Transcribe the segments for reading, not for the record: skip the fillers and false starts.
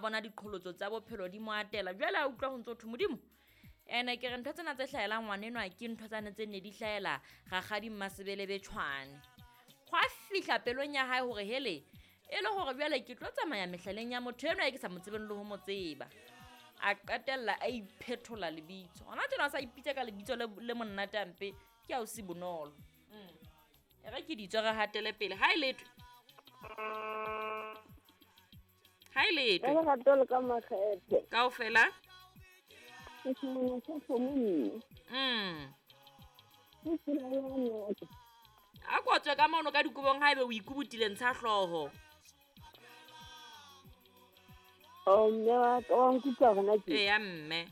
Bona diqholotso tsa bophelo di mo atela. Jwale a utlwa ho ntso thwe Modimo. Ene ke re ntho tsena tse hlahelang ngwanenwa ke ntho tsane tse ne di hlahela rakgadi Mmasebelebe Tshwane. Hwa fihla pelong ya hae hore hele e le hore jwale ke tlo tsamaya mehlaleng ya motho enwa e ke sa mo tsebeng le ho mo tseba. A qetella a iphethola lebitso. Hona tjena a sa ipitsa ka lebitso le monate hampe ke ausi Bonolo. E re ke ditswe re hatele pele. Ha e letho. Ha e letho. Ka lerato le ka makgethe. Kaofela. Ke semana sa kgomo mme. Ke tsela ya noka. A ko tswe ka mono ka dikobong haebe o ikubutile ntsha hlooho. Oh, mme wa ka wa nkutlwa hona tje? Eya mme.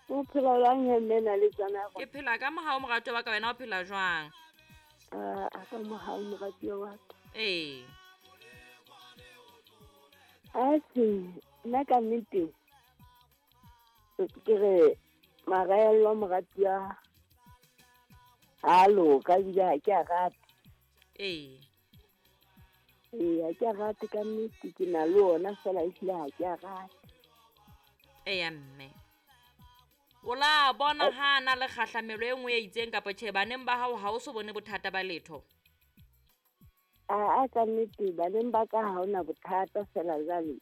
O phela jwang he mme na le tsana ya Ke phela ka mohau moratuwa wa ka, wena o phela jwang? A ka mohau moratuwa wa ka. Ee. Atjhe, nna ka nnete ke re maraello moratuwa ha loka ebile ha ke a rate. Ee. Ee, ha ke a rate ka nnete, ke na le ona fela ehlile ha ke a rate. Eya mme. O la bona ha na le kgahlamelo e nngwe e itseng kapa tjhe baneng ba hao ha o so bone bothata ba letho? Aa ka nnete baneng ba ka ha hona bothata fela jwale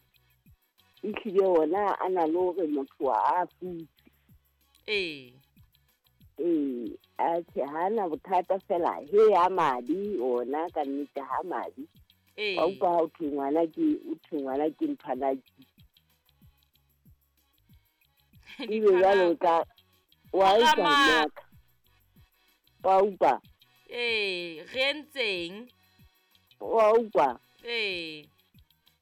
ehlile ona a na le hore motho a futse. Ee. Ee, atjhe ha na bothata fela he a madi ona ka nnete ha madi. Ee. Wa utlwa ha o thwe ngwana ke o thwe ngwana ke nthwana ke. Ebe jwale o tla wa utlwa nnaka. Wa utlwa. Ee, re entseng? Wa utlwa. Ee.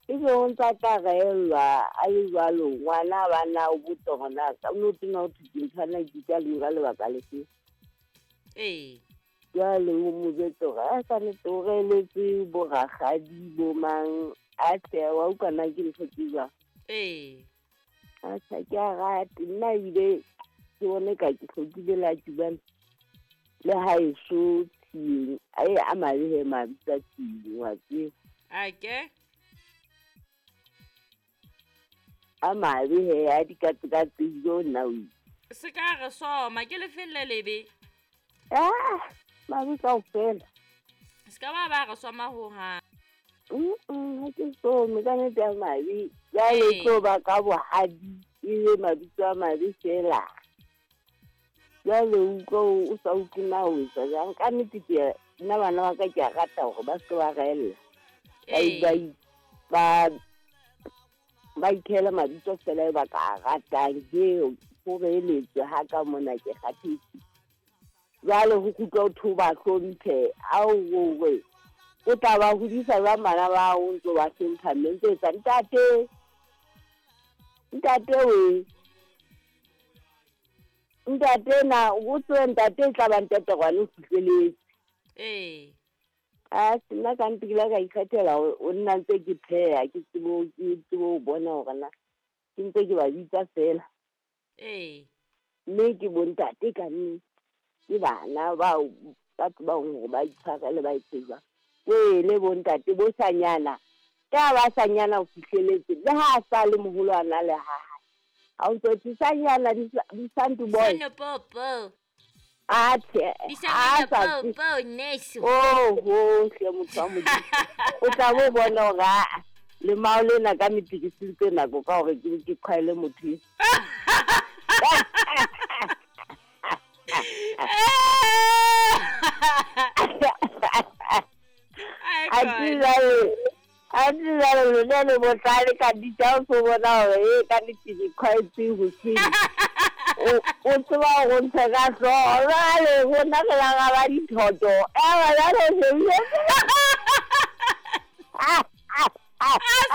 Ebe o ntsa tla reellwa a le jwalo ngwana ba na o botsa hore na ka no tena ho thwe ke nthwana ke ka le lebaka lefe. Ee. Jwale o mo jwetse hore a sa nnete o reeletse bo rakgadi bo mang a tle wa utlwa na ke ntho tse jwang. Ee. Atjhe ke a rate nna ebile ke bone ka ke hlokile la tjubane le haeso tshiyeng ae a mabe he mabitso a tshiyeng wa tseba. Ake? A mabe he a dikatsekatse jo nna o itse. Se ka re soma ke lefeng le lebe? Ah, mabe kaofela. Se ka ba re soma hohang. Ha ke some ka nnete a mabe. Jwale tlo ba ka bohadi ebe mabitso a mabe fela. Jwale utlwa o sa utlwe na o etsa jwang. Ka nnete ke nna bana ba ka ke a rata hore ba se ba reella. Ba ikhela mabitso fela e ba ka ratang. He ho reeletswe ha ka mona ke kgathetse. Jwale ho kgutlwa ho thwe ba hlomphe ao hore o tla ba hodisa jwang bana ba o ntso ba hlompha mme ntse etsa ntate. Ntate we. Ntate na o tswe ntate e tla ba ntate gwane o fihleletse. Ee. A nna ka ntse ke la ka ikgethela o nna ntse ke pheha ke tsebo ho bona hore na ke ntse ke ba bitsa fela. Ee. Mme ke bo ntate ka nnete. Ke bana bao ba tsebang hore ba itshwarele ba etse jwang. Kwele bo ntate bo sanyana. Ka ba sanyana o fihleletse le ha a sa le moholo a na le ha hae. Ha o ntso thwe sanyana di santu boy. Sano popo. Atjhe, Di sanyana popo neso. Oh, ho hle motho wa Modimo. O tla bo bona hore a lemao lena ka nnete ke sentse nako ka hore ke qhwaele motho e. A jwale lona le bohlale ka nnete ha o so bona hore e ka nnete ke qhwaetse hoseng. O tseba hore o ntshe ka hlooho. Jwale rona re la ra ba dithoto. Ewa jwale o shebile. A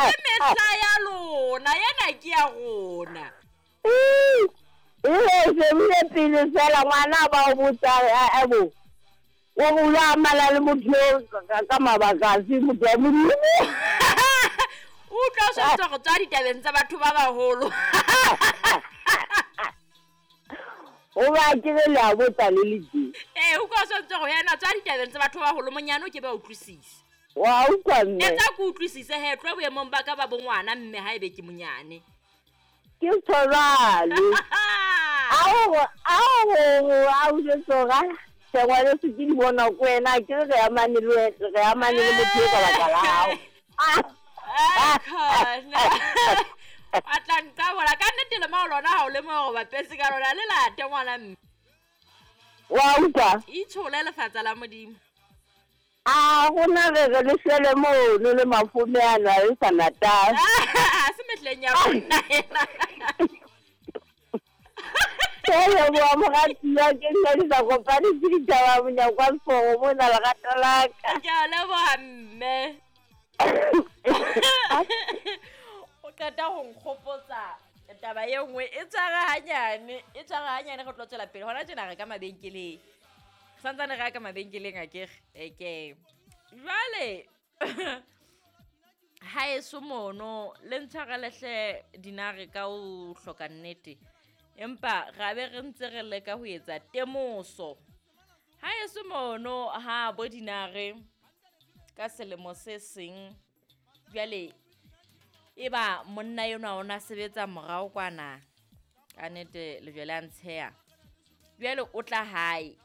se mehla ya lona, ena ke ya rona. E shebile pele fela ngwana ba o botsa ebo. O bula amala le motho eo ka mabaka a se motho wa Modimo. O utlwa o sa tswa go tswa ditabeng tsa batho ba baholo. O ba ke re le a botsa le le tje. Ee, o utlwa o sa tswa go ena tswa ditabeng tsa batho ba baholo monyane o ke ba utlwisise. Wa utlwa mme? Etsa ke utlwisise he, tloha boemong ba ka ba bongwana mme ha ebe ke monyane. Ke tshwarale. Ao ao ao jwetsa hore ngwaneso ke di bona ko wena, ke re amane le re amane le motho ka baka la hao. Khona. A tla nqabola ka nnete le mao lona ha o le mo bapetse ka lona le late ngwana mme. Wa utlwa? Itshole lefatsa la Modimo. A gona re re le shwele mono le mafome ana le sa Natal. Ha se mehleng ya rona ena. Ke leboha moratuwa, ke nna di sa kopane ke ditaba monyako wa seforo mona lerato la ka. Ke a leboha mme. O qeta ho nkgopotsa taba e nngwe e tshwara hanyane, e tshwara hanyane re tlo tswela pele. Hona tjena re ka mabenkeleng. Santsane re ya ka mabenkeleng akere. Eke. Jwale haeso mono le ntshwarele hle dinare ka ho hloka nnete. Empa ra be re ntse re leka ho etsa temoso. Haeso mono ha bo dinare ka selemo se seng jwale eba monna enwa o na sebetsa morao kwana ka nnete lejwe le a ntsheha. Jwale o tla hae.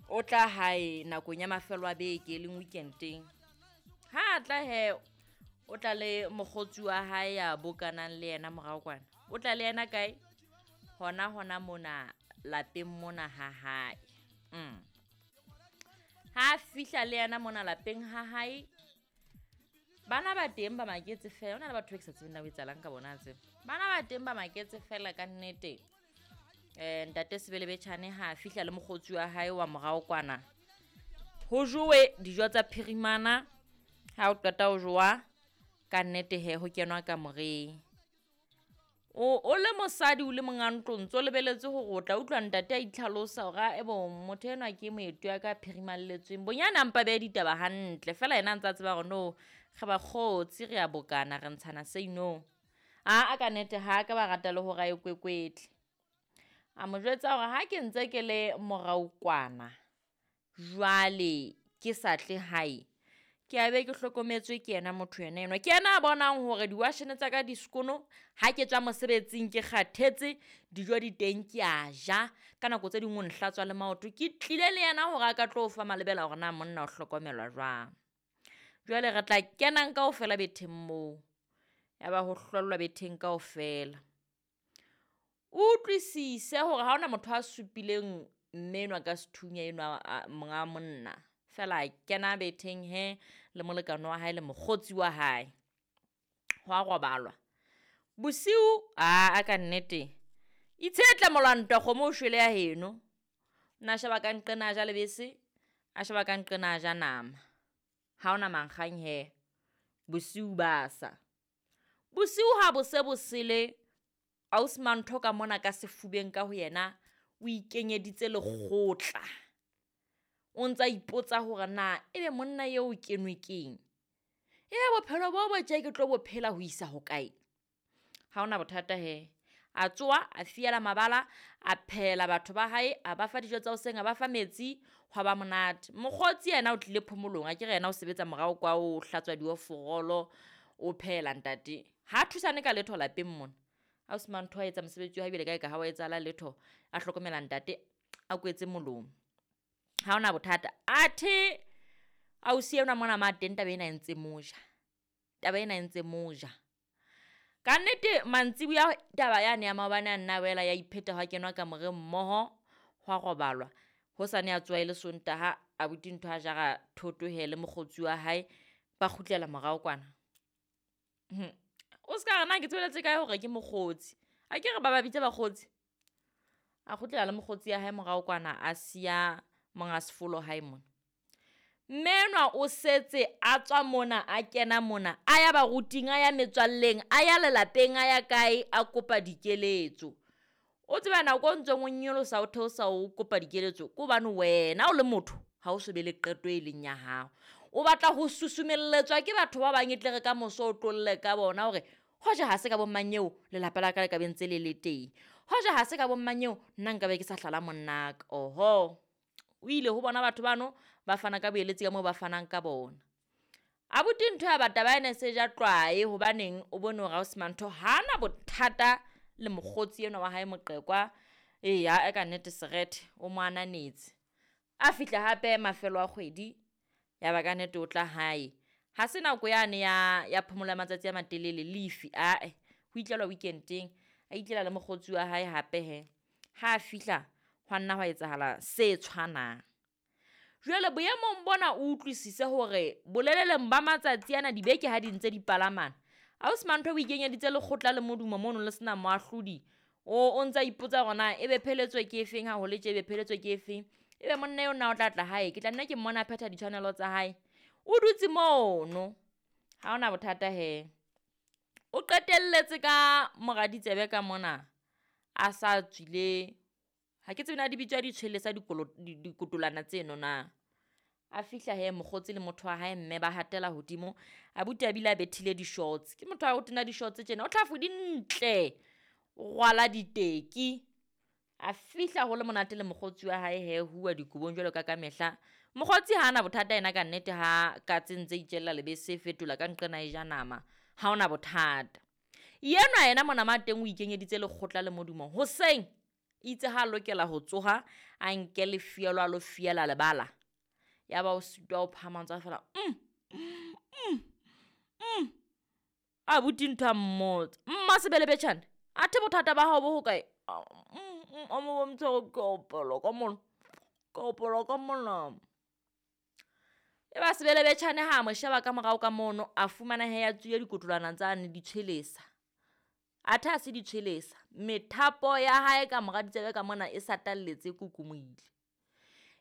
O tla hae nakong ya mafelo a beke leng weekendeng. Ha tla he o tla le mokgotsi wa hae ya bokanang le yena morao kwana. O tla le yena kae? Hona hona mona lapeng mona ha hae. Ha fihla le yena mona lapeng ha hae, bana ba teng ba maketse fela. Hona le batho ba ke sa tsebeng na ho etsahalang ka bona tseo. Bana ba teng ba maketse fela ka nnete. Ntate Sebelebetjhane ha fihla le mokgotsi wa hae wa morao kwana. Ho jowe dijo tsa phirimana. Ha o qeta ho jowa ka nnete he ho kenwa kamoreng. O le mosadi o le monga ntlo ntso lebeletse hore o tla utlwa ntate a itlhalosa hore ebo motho enwa ke moeti wa ka phirimalletsweng. Bonyane a mpa behe ditaba hantle fela yena a ntsa tseba hore no re bakgotsi re a bokana re ntshana se inong. A ka nnete ha ka ba rata le hore a e kwekwetle. A mo jwetsa hore ha ke ntse ke le morao kwana jwale ke sa tle hae, ke a be ke hlokometswe ke yena motho yena enwa. Ke yena a bonang hore diwashene tsa ka di sekono, ha ke tswa mosebetsing ke kgathetse, dijo di teng ke a ja. Ka nako tse ding o nhlatswa le maoto. Ke tlile le yena hore a ka tlo fa malebela hore na monna o hlokomelwa jwang. Jwale re tla kenang kaofela betheng moo. Ya ba ho hlollwa betheng kaofela. O utlwisise hore ha hona motho a supileng mme enwa ka sethunya enwa monga monna. Fela kena betheng he le molekane wa hae le mokgotsi wa hae. Ho a robalwa. Bosiu a ka nnete. Itshetla molwantwa kgomo o shwele ya heno. Nna sheba ka nqena a ja lebese, a sheba ka nqena a ja nama. Ha hona mankgang he. Bosiu ba sa. Bosiu ha bo se bo sele, ausi Mantho ka mona ka sefubeng ka ho yena o ikenyeditse lekgotla. O ntsa ipotsa hore na ebe monna eo o kenwe keng? Ebe bophelo bo bo tje ke tlo bo phela ho isa hokae? Ha hona bothata he. A tsoha, a fiela mabala, a phehela batho ba hae, a ba fa dijo tsa hoseng, a ba fa metsi, hwa ba monate. Mokgotsi yena o tlile phomolong, akere yena o sebetsa morao kwa o hlatswa dioforolo, o phehela ntate. Ha thusane ka letho lapeng mona. Ausi Mantho a etsa mosebetsi wa hae ebile kae ka ha wa etsahala letho, a hlokomela ntate, a kwetse molomo. Ha hona bothata. Athe ausi enwa mona ma teng taba ena e ntse moja. Taba ena e ntse moja. Ka nnete mantsibuya taba yane ya maobane a nna wela ya ipheta ha kenwa kamoreng mmoho, hwa robalwa. Hosane a tsoha e le Sontaha, abuti ntho a jara thoto he le mokgotsi wa hae, ba kgutlela morao kwana. O ska re na ke tsebeletse kae hore ke mokgotsi. A ke re ba ba bitsa bakgotsi. A kgutlela le mokgotsi ya hae morao kwana, a siya monga sefolo hae mona. Mme enwa o setse a tswa mona, a kena mona, a ya baruting, a ya metswalleng, a ya lelapeng, a ya kae, a kopa dikeletso. O tseba nako o ntseng o nyolosa o theosa o kopa dikeletso, ke hobane wena o le motho ha o so be le qeto e leng ya hao. O batla ho susumelletswa ke batho ba bang e tle re ka moso o tlolle ka bona hore hoja ha se ka bo mang eo lelapa la ka le ka be ntse le le teng. Hoja ha se ka bo mang eo nna nka be ke sa hlala monnaka. Oho. O ile ho bona batho bano ba fana ka boeletsi ka moo ba fanang ka bona. Abuti ntho ya bata ba ene se ja tlwae hobaneng o bone hore ausi Mantho ha ana bothata le mokgotsi enwa wa hae Moqhekwa. Eya e ka nnete serethe o mo ananetse. A fihla hape mafelo a kgwedi ya ba ka nnete o tla hae. Ha se nako yane ya phomolo ya matsatsi a matelele leave ae, ho itlelwa weekend-eng. A itlela le mokgotsi wa hae hape he. Ha a fihla hwa nna hwa etsahala se tshwanang. Jwale boemong bona o utlwisise hore boleleleng ba matsatsi ana dibeke ha di ntse di palamana, ausi Mantho o ikenyeditse lekgotla le modumo mono le sena moahlodi. O ntsa ipotsa hore na ebe pheletso ke efeng ha ho le tje, ebe pheletso ke efeng. Ebe monna eo na o tla tla hae, ke tla nna ke mmona a phetha ditshwanelo tsa hae. O dutse mono, ha hona bothata he. O qetelletse ka mora ditsebe ka mona a sa tswile, ha ke tsebe na di bitswa ditshwelesa dikotolana tseno na. A fihla he mokgotsi le motho wa hae mme ba hatela hodimo, abuti a bile a bethile di-shorts. Ke motho wa ho tena di-shorts tjena, o tlhafu di ntle, o rwala diteki. A fihla ho le monate le mokgotsi wa hae he, huwa dikobong jwalo ka ka mehla. Mokgotsi ha ana bothata yena ka nnete ha katse ntse itjella lebese e fetola ka nqena e ja nama, ha hona bothata. Yenwa yena mona ma teng o ikenyeditse lekgotla le modumo. Hoseng itse ha lokela ho tsoha a nke lefielo a lo fiela lebala. Ya ba o sitwa ho phahama ntse a fela, Abuti ntho a mmotsa, mma sebelebetjhane, athe bothata ba hao bo hokae? A mo bontsha hore ke opelwa ka mona, ke opelwa ka mona. E ba sebelebetjhane ha mo sheba ka morao ka mono, a fumana he ya tswile dikotolwana tsane di tshwelesa. Athe ha se di tshwelesa, methapo ya hae ka mora ditsebe ka mona e satalletse e kukumohile.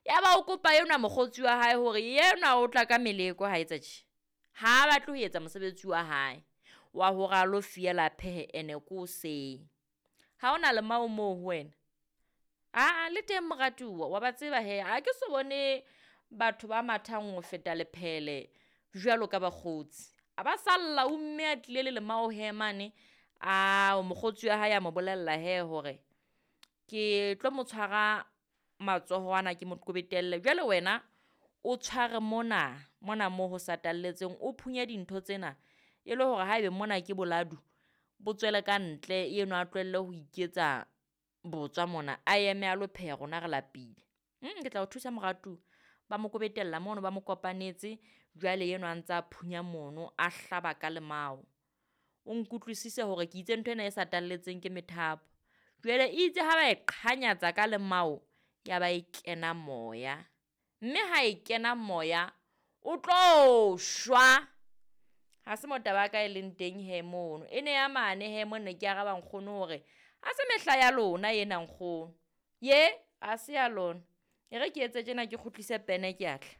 Ya ba o kopa enwa mokgotsi wa hae hore yenwa o tla ka meleko ha etsa tje. Ha a batle ho etsa mosebetsi wa hae wa hore a lo fiela phehe ene ko hoseng. Ha hona lemao moo ho wena? Aa, le teng moratuwa, wa ba tseba he, ha ke so bone batho ba mathang ho feta lephele jwalo ka bakgotsi. A ba salla o mme a tlile le lemao he mane, a mokgotsi wa hae a mo bolella he hore ke tlo mo tshwara matsoho ana ke mo qobetelle. Jwale wena o tshware mona, mona moo ho satalletseng, o phunye dintho tsena e le hore haebe mona ke boladu bo tswele ka ntle, eno a tlohelle ho iketsa botswa mona, a eme a lo pheha rona re lapile. Ke tla o thusa moratuwa. Ba mo kobetella mono, ba mo kopanetse. Jwale enwa a ntsa phunya mono, a hlaba ka lemao. O nkutlwisise hore ke itse ntho ena e satalletseng ke methapo. Jwale itse ha ba e qhanyatsa ka lemao, ya ba e kena moya. Mme ha e kena moya, o tlo shwa. Ha se mo taba ya ka e leng teng he mono. E ne ya mane he mo ne ke araba nkgono hore ha se mehla ya lona ena nkgono. Ye, ha se ya lona. E re ke etse tjena ke kgutlise pene ke a tla.